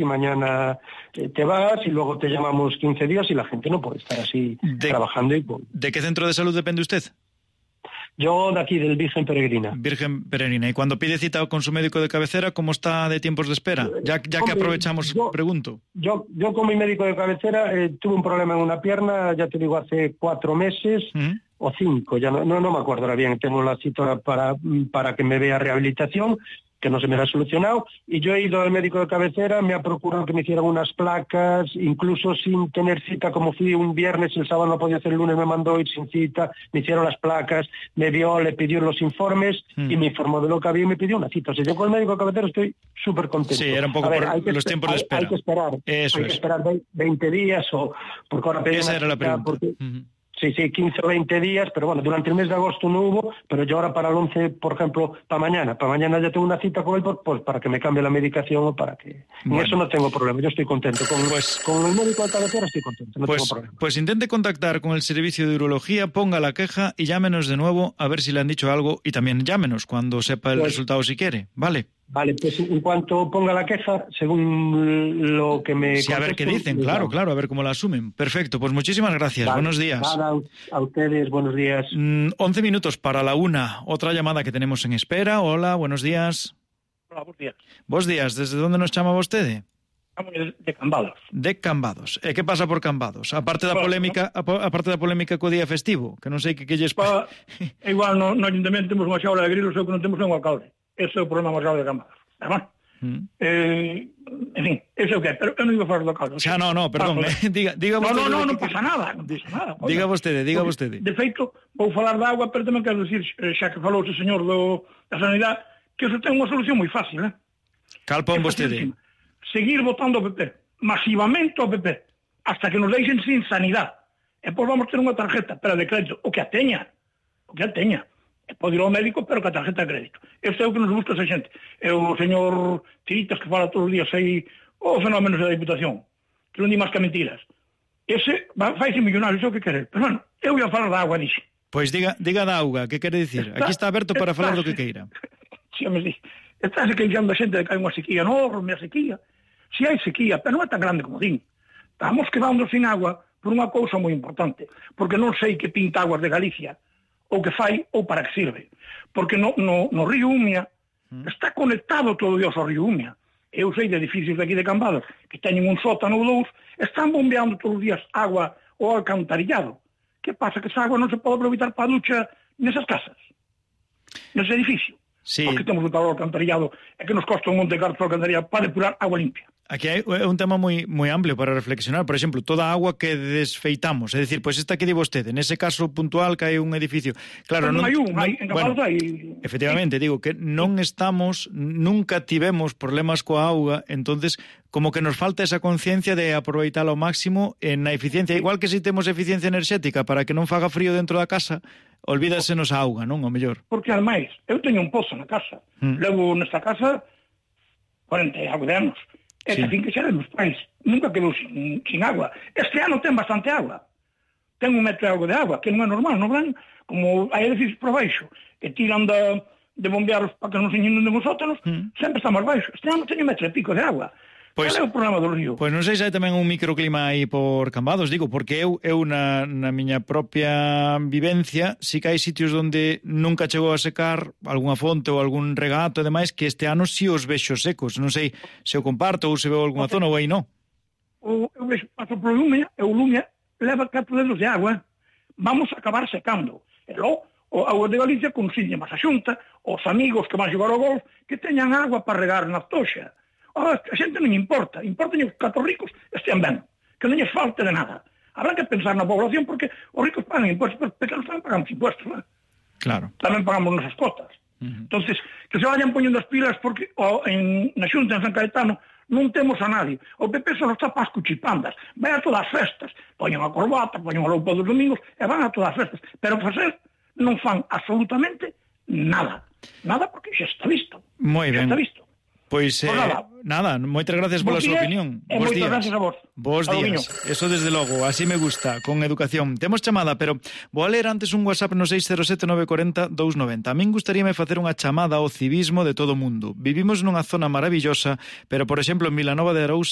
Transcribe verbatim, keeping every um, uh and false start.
y mañana eh, te vas y luego te llamamos quince días y la gente no puede estar así de, trabajando. Y, pues, ¿De qué centro de salud depende usted? Yo de aquí, del Virgen Peregrina. Virgen Peregrina. Y cuando pide cita con su médico de cabecera, ¿cómo está de tiempos de espera? Ya, ya que aprovechamos, yo, pregunto. Yo, yo con mi médico de cabecera eh, tuve un problema en una pierna, ya te digo, hace cuatro meses ¿Mm? o cinco, ya no, no, no me acuerdo ahora bien. Tengo la cita para, para que me vea rehabilitación, que no se me ha solucionado, y yo he ido al médico de cabecera, me ha procurado que me hicieran unas placas, incluso sin tener cita, como fui un viernes, el sábado no podía hacer, el lunes me mandó ir sin cita, me hicieron las placas, me vio, le pidió los informes, mm. y me informó de lo que había y me pidió una cita. O sea, yo con el médico de cabecera estoy súper contento. Sí, era un poco ver, por los tiempos hay, de espera. Hay que esperar, Eso hay es. que esperar veinte días, o porque ahora pedí Esa una era la cita pregunta. Porque, uh-huh. Sí, sí, quince o veinte días, pero bueno, durante el mes de agosto no hubo, pero yo ahora para el once, por ejemplo, para mañana, para mañana ya tengo una cita con él, pues para que me cambie la medicación o para que... Bueno. En eso no tengo problema, yo estoy contento. Con, pues, con el médico de cabecera estoy contento, no pues, tengo problema. Pues intente contactar con el servicio de urología, ponga la queja y llámenos de nuevo a ver si le han dicho algo, y también llámenos cuando sepa el pues, resultado si quiere, ¿vale? Vale, pues en cuanto ponga la queja, según lo que me... Sí, a ver qué dicen, claro, vale. claro, a ver cómo la asumen. Perfecto, pues muchísimas gracias, vale. Buenos días. Nada, a ustedes, buenos días. Mm, once minutos para la una, otra llamada que tenemos en espera. Hola, buenos días. Hola, buenos días. Buenos días, ¿desde dónde nos chamaba usted? De Cambados. De Cambados. E que pasa por Cambados? Aparte da polémica, aparte da polémica co día festivo, que non sei que que lles pa... Igual no, no ayuntamiento temos unha xaula de grilos, o que non temos é un alcalde. Ese é o problema máis grave de Cambados. Además, mm. eh, en fin, ese é o que é, pero eu non iba a falar do alcalde. Xa, no, no, perdón, eh, diga, diga no, vostede... No, no, non que... pasa nada, non pasa nada. Oiga, diga vostede, diga vostede. De feito, vou falar da agua, pero tamén quero dicir, xa que falou o señor do, da Sanidade, que eso ten unha solución moi fácil, eh? Cal pon vostede? Seguir votando o P P, masivamente o P P, hasta que nos deixen sin sanidade. E pois vamos ter unha tarjeta, pero de crédito, o que a teña, o que a teña. E pode ir ao médico, pero que a tarjeta de crédito. Este é o que nos gusta esa xente. É o señor Tiritas que fala todos os días aí, o fenómenos da Diputación, que non di máis que mentiras. Ese faise millonario, iso que querer. Pero bueno, eu ia falar da agua, dixe. Pois diga, diga da auga, que quere dicir? Aquí está aberto para falar do que queira. Si, me di. Está se queixando a xente de que hai unha sequía enorme, a sequía. Si hai sequía, pero non é tan grande como din. Estamos quedando sin agua por unha cousa moi importante, porque non sei que pinta aguas de Galicia, ou que fai, ou para que sirve. Porque no, no, no río Umia mm. está conectado todo Dios ao río Umia. Eu sei de edificios de aquí de Cambados que teñen un sótano ou dous, están bombeando todos os días agua ou alcantarillado. Que pasa? Que esa agua non se pode aproveitar para a ducha nesas casas, nese edificio. Sí. Porque temos un tal alcantarillado e que nos costa un monte de cartos alcantarillado para depurar agua limpia. Aquí hai un tema moi moi amplio para reflexionar. Por exemplo, toda a agua que desfeitamos, é dicir, pois esta que di vostede, nese caso puntual que hai un edificio. Claro, non hai un, hai, en bueno, hai. Efectivamente, digo que non estamos, nunca tivemos problemas coa auga, entonces como que nos falta esa conciencia de aproveitar ao máximo en a eficiencia, igual que se si temos eficiencia enerxética para que non faga frío dentro da casa, olvídasenos a auga, non? O mellor. Porque, ademais, eu teño un pozo na casa. Mm. Levo nesta casa cuarenta e algo de anos. E sí. Que fin que xa meus pais. Nunca quedou sin, sin agua. Este ano ten bastante agua. Ten un metro e algo de agua, que non é normal, non van? Como hai edificios por baixo, que tiran da, de bombearos para que non se inunden os sótanos, mm. sempre está máis baixo. Este ano teño metro e pico de agua. Pois, é o problema do río? Pois non sei se hai tamén un microclima aí por Cambados, digo, porque eu, eu na, na miña propia vivencia, si que hai sitios onde nunca chegou a secar algunha fonte ou algún regato e demais, que este ano si os vexo secos. Non sei se o comparto ou se veo algunha zona ou aí non. O, eu vexo, paso por Lumia, e o Lumia leva catro dedos de agua. Vamos a acabar secando. E logo, o agua de Galicia consigne máis a xunta, os amigos que van xogar ao golf, que teñan agua para regar na toxa. Oh, a xente non importa, importa que os catro ricos estean ben, que non lles falte de nada. Habrá que pensar na población porque os ricos pagan impuestos, pero pequenos tamén pagamos impuestos, ¿no? Claro. Tamén pagamos nosas cotas. Uh-huh. Entonces, que se vayan poñendo as pilas porque oh, en, na Xunta, en San Caetano, non temos a nadie. O P P só está para as cuchipandas, vai a todas as festas, poñen a corbata, poñen a roupa dos domingos e van a todas as festas, pero facer non fan absolutamente nada. Nada porque xa está visto. Moi ben. Xa está visto. Pois, eh, nada. nada, moitas gracias pola súa opinión. E moitas gracias a vos. Bos días. Eso desde logo, así me gusta, con educación. Temos chamada, pero vou a ler antes un WhatsApp no seis cero sete nove four zero dous nove zero. A min gustaríame facer unha chamada ao civismo de todo o mundo. Vivimos nunha zona maravillosa, pero, por exemplo, en Vilanova de Arousa